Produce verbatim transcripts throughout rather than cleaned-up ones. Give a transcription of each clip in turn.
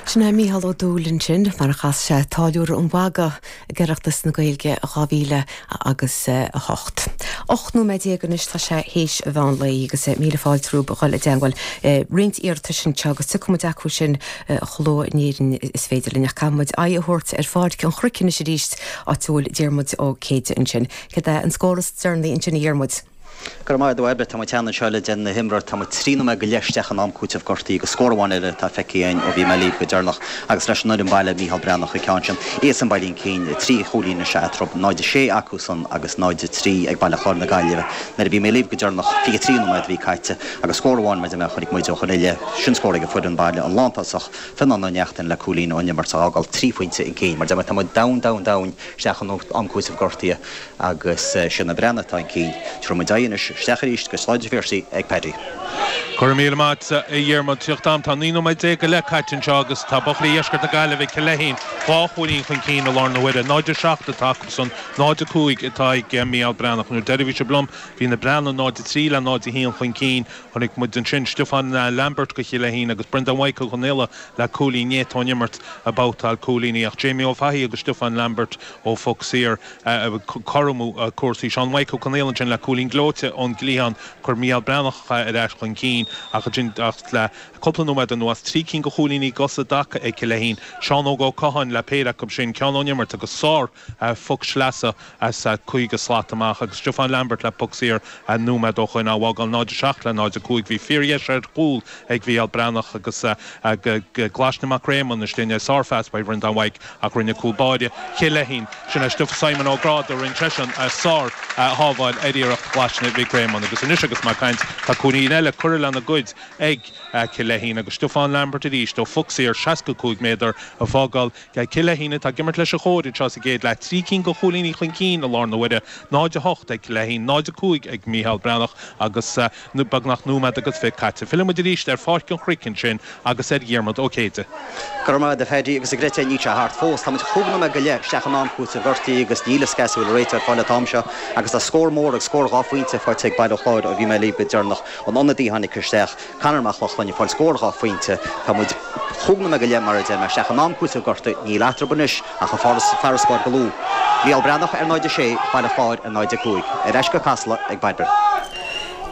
Sin é Mícheál Ó Dúill ansin mar a chas sé Táilliúir an Mhagaidh ag Oireachtas na Gaeilge dhá mhíle agus a hocht. Ocht nóiméad déag anois tá sé théis an mheán lae agus míle fáilte romhaibh a dhul i dteangmháil. Roinnt iarratais anseo agus tiocfaidh muid acu sin chomh luath in Éirinn is féidir linn ach caithfidh muid aghaidh a thabhairt ar Pháirc an Chnoic anois arís áit a bhfuil Diarmuid Ó Céide ansin. Cad é an scór is deireanaí ansin a Dhiarmuid? Go raibh maith agat a Bhairbre, tá muid cheana anseo le déanamh na himreoir, tá muid trí nóiméad go leith isteach in am cúitimh gortaithe agus scór amháin eile atá feicthe againn ó bhí mé libh go deireanach agus leis an fhoireann baile Mícheál Breathnach an ceann sin. Iadsan bailithe chun cinn trí chúilín is ea eatarthu, náid a sé acu san agus náid a trí ag Baile Chláir na Gaillimhe. Nuair a bhí mé libh go deireanach fiche trí nóiméad a bhí caite agus scór amháin mar a deir mé a chonaic muid ó shoin i leith, sin scór ag an foireann baile an lántosach Fionán Ó Neachtain le cúilín ón imirt a fhágáil trí phointe chun cinn. Mar a deir mé tá muid domhain domhain domhain isteach in am cúitimh gortaithe agus sin na Breathnaigh atá chun cinn. Tabharfaidh muid aghaidh anois isteach arís go Sráid an Phiarsaigh ag Paddy. Go raibh míle maith agat, a Dhiarmuid. Teacht am, tá naoi nóiméad déag go leith caite anseo agus tá buachaillí Dheisceart na Gaillimhe, Cill Leithín, dhá chúilín chun cinn i láthair na huaire. náid a seacht atá acusan, náid a cúig atá ag Mícheál Breathnach. Nuair deireadh bhí sibh liom, bhí na Breathnaigh náid a trí le náid a haon chun cinn. Chonaic muid ansin Stiofán Lambert go Chill Leithín agus Brendan Mhaidhc Ó Conaola le cúilín néata ón imirt ag babhtáil cúilíní ach Jamie Ó Fathaigh agus Stiofán Lambert ó phoc saor ag cothromú cúrsaí. Seán Mhaidhc Ó Conaola ansin le cúilín gleoite ón gcliathán. Chuir Mícheál Breathnach ar ais chun cinn ach ansin ach le cúpla nóiméad anuas, trí cinn de chúilíní i dtaca ag Cill Leithín. Seán Óg Ó Catháin le péire acu sin, ceann ón imirt agus sár phoc sleasa as caoga slat amach agus Stiofán Lambert le poc saor nóiméad ó shoin á bhfágáil náid a seacht le náid a cúig. Bhí fíordheis ar chúl ag Mhícheál Breathnach agus Glaisne Mac Réamonn istigh sárphas by Bhreandán Mhaidhc ach rinne cúl báire Chill Leithín. Sin é Stiofán Simon Ó Gráda rinne seisean sár shábháil ar iarracht Ghlaisne Mhic Réamonn agus anois agus mé ag caint tá cúilín eile curtha lena gcuid ag Cill Leithín agus Stiofán Lambert arís ó phoc saor seasca cúig méadar a fágáil Cill Leithín atá ag imirt leis an chóir anseo sa gcéad leath trí cinn de chúilíní chun cinn i láthair na huaire náid a hocht ag Cill Leithín náid a cúig ag Mícheál Breathnach agus beagnach nóiméad agus fiche caite. Filleann muid arís ar Pháirc an Chnoic ansin agus ar Dhiarmuid Ó Céide. Go raibh maith agat a Phaddy agus a Greta níl sé thart fós. Táimid chúig nóiméad go leith isteach in am cúitimh gortaithe agus níl a fhios cá bhfuil an réiteoir ar fáil an t-am seo agus tá scór mór agus scór dhá phointe faighte ag Baile Chláir ó bhí mé libh go deireanach. An ionadaí a tháinig isteach, Conor Mac Lochlainn ag fáil scór dhá phointe. Tá muid chúig nóiméad go leith mar a deir mé isteach in am cúitimh gortaithe, níl eatarthu anois ach an farasbarr go lú. Mícheál Breathnach ar náid a sé, Baile Chláir ar náid a cúig. Ar ais go Casla ag Bairbre.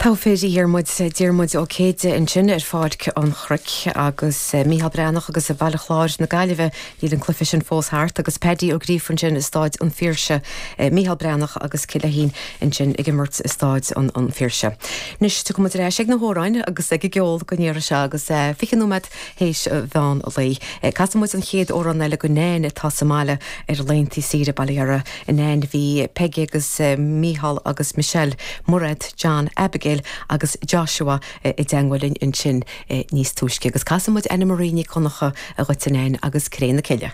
Togha fir a Dhiarmuid, Diarmuid Ó Céide ansin ar Pháirc an Chnoic agus Mícheál Breathnach agus Baile Chláir na Gaillimhe níl an cluiche sin fós thart agus Paddy Ó Gríofa ansin i Stáid an Phiarsaigh, Mícheál Breathnach agus Cill Leithín ansin ag imirt i Stáid an an Phiarsaigh. Anois tiocfaidh muid ar ais ag na hamhráin agus ag an gceol don iarraidh seo agus fiche nóiméad théis mheán lae. Casfaidh muid an chéad amhrán eile go Nain atá sa mbaile ar laethanta saoire Baile Dheara. Nain bhí Peggy agus Mícheál agus Michelle, Mairéad, John, Abigail agus Joshua i dteagmháil linn ansin níos túisce agus casfaidh muid Anna Marie Ní Conchú a dhuit a Nain agus Cré na Cille.